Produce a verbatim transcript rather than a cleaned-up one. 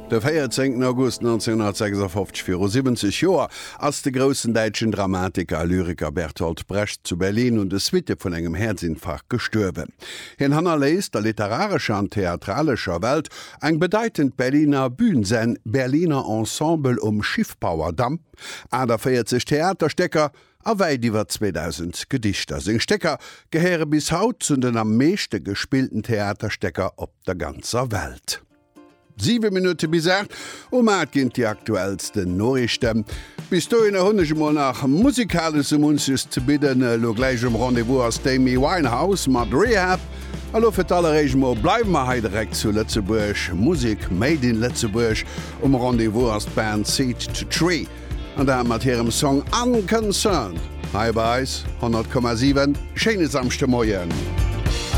De véierzéngten August nonzénhunnertsechsafofzeg, viru siwwenzeg Joer, ass de groussen däitschen Dramatiker a Lyriker Bertolt Brecht zu Berlin un de Suitte vun engem Häerzinfarkt gestuerwen. Hien hannerléisst der literarescher an theatralescher Welt eng bedeitend Berliner Bühn, säin Berliner Ensemble um Schiffbauerdamm, aachtavéierzeg Theaterstécker a wäit iwwer zweedausend Gedichter. Seng Stécker gehéiere bis haut zu den am meeschte gespillten Theaterstécker op der ganzer Welt. Siwe Minutte bis aacht, um aacht ginn et déi aktuellsten Noriichten. Bis dohinner hunn ech emol nach musikalesch sou munches ze bidden. Elo gläich um Rendez-vous ass d'Amy Winehouse mat Rehab. A lo fir d'alleréischt mol bleiwe mer hei direkt zu Lëtzebuerg, Musek made in Lëtzebuerg. Um Rendez-vous ass d'Band Seed to Tree an dat mat hirem Song Unconcerned hei bei eis, honnert Komma siwen. Schéine Samschdemoien.